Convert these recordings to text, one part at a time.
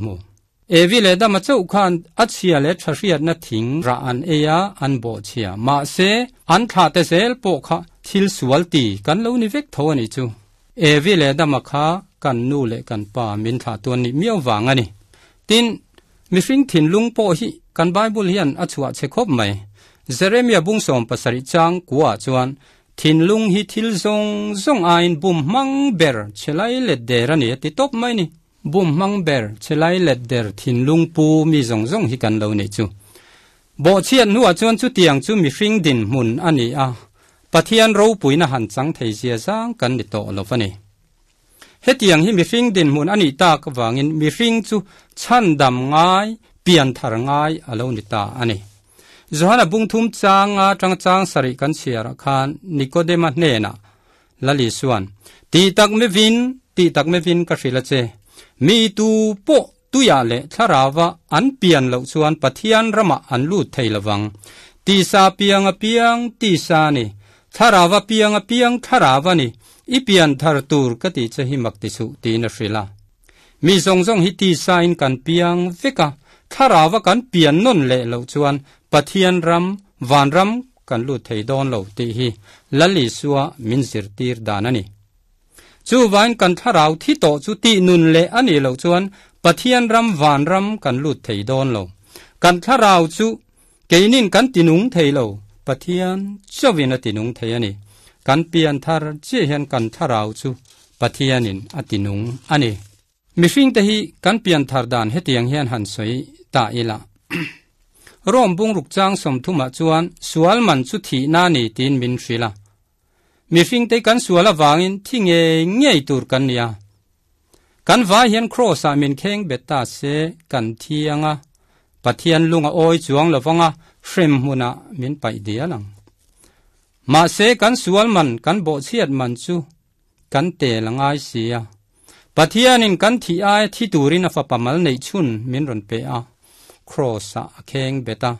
Hmu. Evi leh Adama chauh khan a chhia leh tha hriatna thing rah an ei a, an bawh chhia. Mahse, an thlah te zel pawh kha thil sual ti kan lo ni vek tho a nih chu. Evi leh Adama kha kan nu leh kan pa min thlah tuan nih miau vang a ni. Tin, mihring thinlung pawh hi kan Bible hian a chhuah chhe khawp mai. Jeremia bung 70 chang kuaah chuan, Thinlung hi thil zawng zawng aiin bum hmang ber chhe lai let der a ni a ti tawp mai ni. Bum hmang ber chhelai let der thinlung pu mi zawng zawng hi kan lo nih chu. Bawhchhiat hnuah chuan chutiang chu mihring dinhmun a ni a, Pathian ropuina han chang thei zia zang kan ni tawh lo va ni. Hetiang hi mihring dinhmun a nih tak avangin mihring chu chhandam ngai, pianthar ngai a lo ni ta a ni. Johana bungthum changa tanga chang sarih kan chhiarah khan Nikodema hnenah Lali chuan, Tih tak mevin, tih tak mevin ka hrilh a che. Mi tu pawh tuiah leh thlarauva an pian loh chuan Pathian ramah an lut thei lovang. Tisa piang a piang tisa a ni, thlarauva piang a piang thlarau a ni, i pian thar tur ka tih che hi mak ti suh, tiin a hrilh a. Mi zawng zawng hi tisa in kan piang vek a, thlarauva kan pian nawn leh loh chuan Pathian ram, vanram, kan lut thei dawn lo tih hi Lal Isua min zirtir dan a ni. Chuvain kan thlarau thi tawh chu tih nun leh a nih loh chuan Pathian ram vanram kan lut thei dawn lo. Kan thlarau chu keinin kan tinung thei lo, Pathian chauhin a tinung thei a ni. Kan pian thar chiah hian kan thlarau chu Pathianin a tinung a ni. Mihring te hi kan pian thar dan hetiang hian han sawi ta ila. Rome bungruk chang 30 ah chuan sual man chu thihna ni tiin min hrilh a. Mihring te kan sual avangin thi ngei ngei tur kan ni a. Kan vai hian Kross ah min kheng bet ta se kan thi anga, Pathian lung a awi chuang lovanga hrem hmunah min paih dial ang. Mahse kan sual man kan bawhchhiat man chu kan tel a ngai si a. Pathianin kan thih ai thi turin a fapa mal neih chhun min rawn pe a, Kraws-ah a kheng bet a.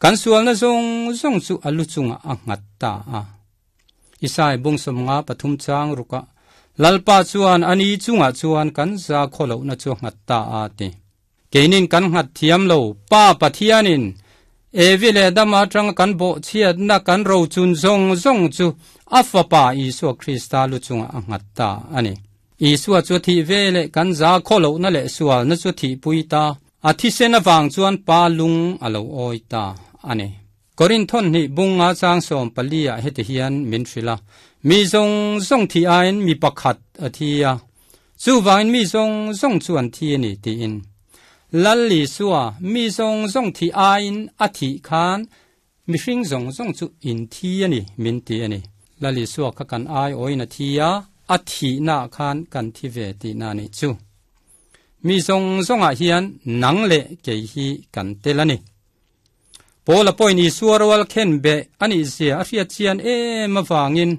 Kan sualna zawng zawng chu a lu chungah a nghat ta a. Isai bung 53 chang rukah, Lalpa chuan a ni chungah chuan kan za khaw lohna chu a nghat ta a ti. Keinin kan nghat thiam lo, Pa Pathianin Evi leh Adama atanga kan bawhchhiatna kan rochun zawng zawng chu a Fapa Isua Krista lu chungah a nghat ta a ni. Isua chu a thih ve leh kan za khaw lohna leh sualna chu a thihpui ta, a thisen avang chuan Pa lung a lo awi ta a ni. Korinthon hnih bunga chang 14 ah heti hian min hrilh a, Mi zawng zawng thih aiin mi pakhat a thi a, chuvangin mi zawng zawng chu an thi a ni tiin. Lal Isua mi zawng zawng thih aiin a thih khan mihring zawng zawng chu in thi a ni min ti a ni. Lal Isua kha kan ai awin a thi a, a thihnaah khan kan thi ve tihna a nih chu. Mi zawng zawngah hian nang leh kei hi kan tel a ni. Paula pawhin Isua rual khen beh a nih zia a hriat chian em avangin,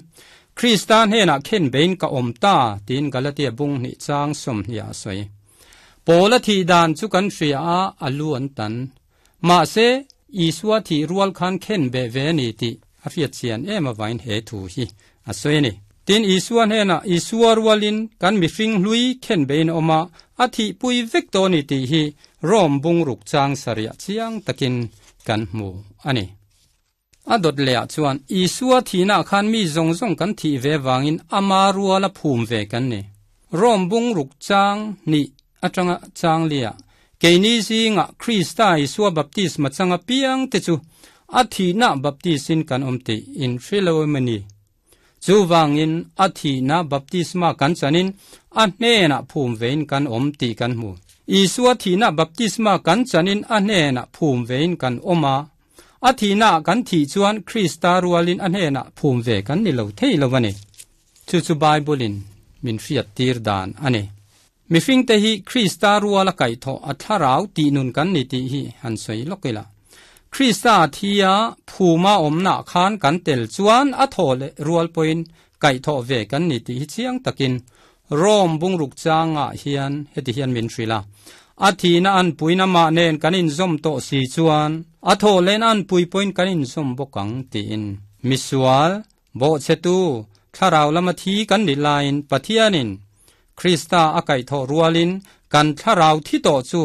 Krista hnenah khen bein ka awm ta, tiin Galatia bung hnih chang 20 a sawi. Paula thih dan chu kan hria a, a lu an tan. Mahse, Isua thih rual khan khen beh ve a ni tih a hriat chian em avangin he thu hi a sawi a ni. Tin, Isua hnenah Isua rualin kan mihring hlui khen bein a awm a, a thihpui vek tawh a ni tih hi Rome bungruk chang sarih chiang takin kan hmu a ni. A dawt lehah chuan Isua thihnaah khan mi zawng zawng kan thih ve vangin ama ruala phum ve kan ni. Rome bungruk chang hnih atanga chang liah keini zingah Krista Isua baptisma changa piang te chu a thihna baptisin kan awm tih in hre lo em a ni. Chuvangin a thihna baptisma kan chanin a hnenah phum vein kan awm tih kan hmu. Isua thihna baptisma kan chanin a hnenah phum vein kan awm a. A thihnaah kan thih chuan Krista rualin a hnenah phum ve kan ni lo thei lo a ni. Chu chu Bible-in min hriat tir dan a ni. Mihringte hi Krista ruala kaihthawh a thlarau tih nun kan ni tih hi han sawi lawk ila. Krista thi a phuma awmnaah khan kan tel chuan a thaw leh rual pawhin kaihthawh ve kan ni tih hi chiang takin Rome bungruk changah hian heti hian min hrilh a. A thihna an puina mah nen kan inzawm tawh si chuan a thaw lehna an pui pawhin kan inzawm bawk ang tiin. Misual, Bawhchhetu, thlarau lama thi kan nih laiin Pathianin Krista a kaihthawh rualin Kan thlarau thi tawh chu.